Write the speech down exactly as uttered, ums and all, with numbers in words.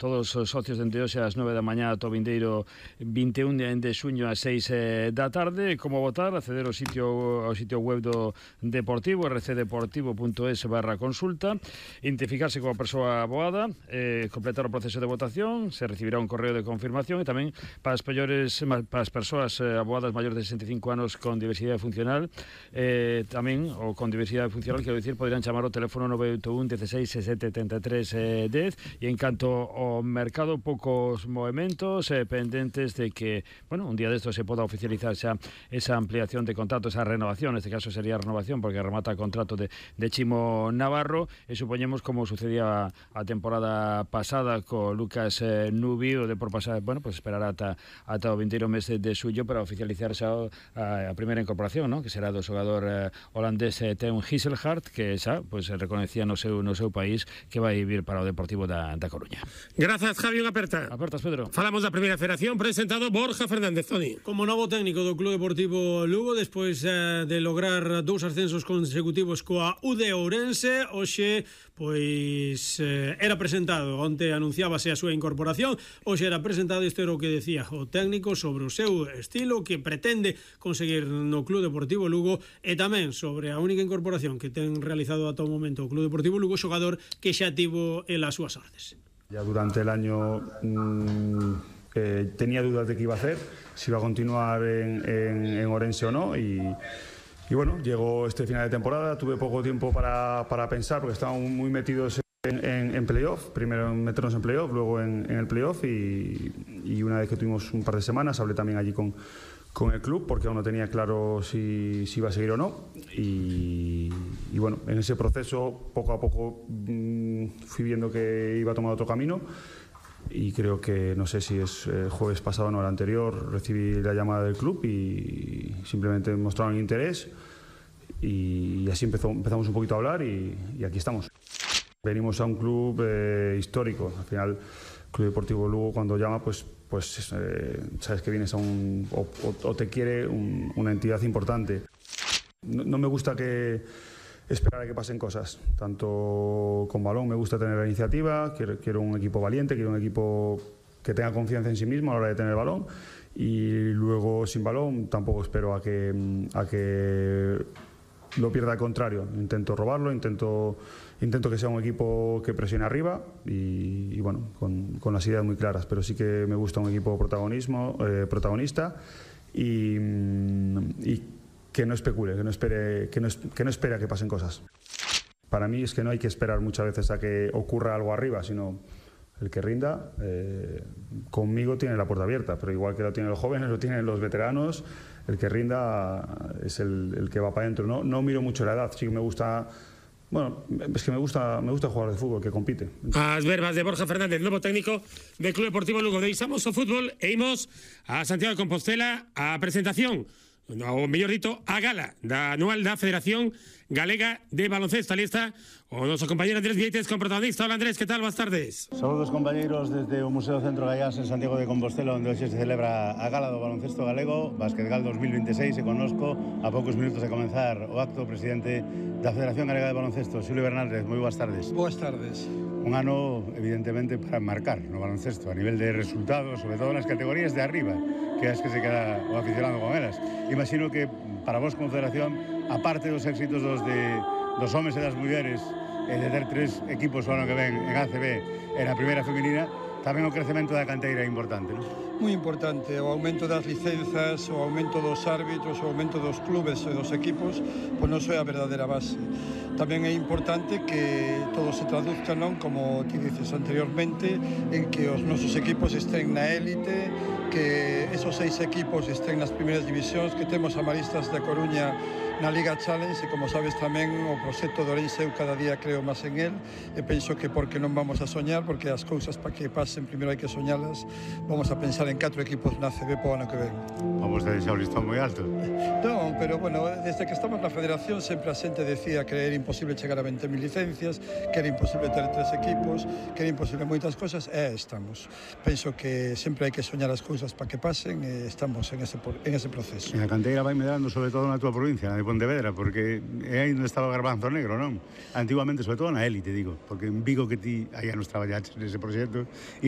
todos os socios dende hoxe ás nove da mañá ata o vindeiro vinte e un de xuño ás seis da tarde. Como votar? Acceder ao sitio ao sitio web do Deportivo, r c deportivo punto es barra consulta, identificarse como persoa aboada, eh, completar o proceso de votación, se recibirá un correo de confirmación, e tamén para as maiores, para as persoas eh, aboadas maiores de sesenta e cinco anos con diversidade funcional, eh, tamén, ou con diversidade funcional, quero dicir, poderán chamar ao teléfono nove oito un dezasseis sesenta setenta e tres dez, e en canto ao mercado, poucos movimentos eh, pendentes de que, bueno, un día desto se poda oficializar xa esa ampliación de contrato, esa renovación, neste caso sería renovación porque remata o contrato de, de Chimo Navarro, e supoñemos como sucedía a temporada pasada co Lucas eh, Nubi, o de por pasar, bueno, pues esperar ata, ata o vindeiro mes de, de suyo para oficializar xa a, a primeira incorporación, ¿no? Que será do xogador eh, holandés eh, Teun Gisselhart, que xa, pues, reconecía no seu, no seu país que vai vir para o Deportivo da, da Coruña. Grazas, Javi, unha aperta. Apertas, Pedro. Falamos da primeira federación, presentado Borja Fernández, Toni. Como novo técnico do Club Deportivo Lugo, despois eh, de lograr dous ascensos consecutivos coa U D Ourense, hoxe, pois, eh, era presentado, onte anunciábase a súa incorporación, hoxe era presentado, isto era o que decía o técnico sobre o seu estilo que pretende conseguir no Club Deportivo Lugo, e tamén sobre a única incorporación que ten realizado ata o momento o Club Deportivo Lugo, xogador que xa tivo el as súas ordes. Ya durante el año mmm, eh, tenía dudas de qué iba a hacer, si iba a continuar en, en, en Orense o no, y, y bueno, llegó este final de temporada, tuve poco tiempo para, para pensar porque estábamos muy metidos en, en, en playoff, primero en meternos en playoff, luego en, en el playoff, y, y una vez que tuvimos un par de semanas hablé también allí con, con el club porque aún no tenía claro si, si iba a seguir o no, y, y bueno, en ese proceso poco a poco mmm, fui viendo que iba a tomar otro camino, y creo que, no sé si es el jueves pasado o no, el anterior, recibí la llamada del club y simplemente mostraron interés, y así empezó, empezamos un poquito a hablar, y, y aquí estamos. Venimos a un club eh, histórico, al final Club Deportivo Lugo cuando llama, pues, pues eh, sabes que vienes a un, o, o, o te quiere un, una entidad importante. No, no me gusta que esperar a que pasen cosas, tanto con balón me gusta tener la iniciativa, quiero, quiero un equipo valiente, quiero un equipo que tenga confianza en sí mismo a la hora de tener el balón, y luego sin balón tampoco espero a que, a que lo pierda al contrario, intento robarlo, intento, intento que sea un equipo que presione arriba, y, y bueno, con, con las ideas muy claras, pero sí que me gusta un equipo protagonismo, eh, protagonista, y, y que no especule, que no espere, que no, que no espere a que pasen cosas. Para mí es que no hay que esperar muchas veces a que ocurra algo arriba, sino el que rinda, eh, conmigo tiene la puerta abierta, pero igual que lo tienen los jóvenes, lo tienen los veteranos, el que rinda es el, el que va para adentro. No, no miro mucho la edad, sí que me gusta... Bueno, es que me gusta me gusta jugar de fútbol, que compite. As verbas de Borja Fernández, novo técnico de Club Deportivo Lugo. Deixamos o fútbol e imos a Santiago de Compostela a presentación, o mellor dito, a gala da anual da Federación Galega de Baloncesto. Ali está o noso compañero Andrés Vieites con protagonista. Hola Andrés, que tal? Boas tardes. Saludos compañeiros desde o Museo Centro Gaiás en Santiago de Compostela, onde hoxe se celebra a gala do baloncesto galego Basquetgal dos mil veintiséis, e connosco a poucos minutos de comenzar o acto o presidente da Federación Galega de Baloncesto, Xulio Bernaldez. Moi boas tardes. Boas tardes. Un ano, evidentemente, para marcar no baloncesto a nivel de resultados, sobre todo nas categorías de arriba, que é as que se queda o aficionado con elas. Imagino que para vos como Federación, aparte dos éxitos dos de dos homes e das mulleres, e de ter tres equipos o ano que ven en A C B e na primeira feminina, tamén o crecemento da canteira é importante, non? Moi importante, o aumento das licenzas, o aumento dos árbitros, o aumento dos clubes e dos equipos, pois non é a verdadeira base. Tamén é importante que todo se traduzca, non, como ti dices anteriormente, en que os nosos equipos estén na élite, que esos seis equipos estén nas primeiras divisións, que temos a Maristas de Coruña na Liga Challenge, e como sabes tamén o proxecto de Ourense eu cada día creo máis en el, e penso que porque non vamos a soñar, porque as cousas para que pasen primeiro hai que soñalas, vamos a pensar en catro equipos na C B po ano que ven. Vamos a deixar o listón moi alto. Non, pero bueno, desde que estamos na Federación sempre a xente decía que era imposible chegar a veinte mil licencias, que era imposible ter tres equipos, que era imposible moitas cosas, e estamos. Penso que sempre hai que soñar as cousas para que pasen, e estamos en ese, en ese proceso. E a canteira vai medrando sobre todo na túa provincia, na de Pontevedra, porque é aí onde estaba o garbanzo negro, non? Antiguamente, sobre todo na élite, digo, porque en Vigo que ti aí nos traballaches nese proxecto, e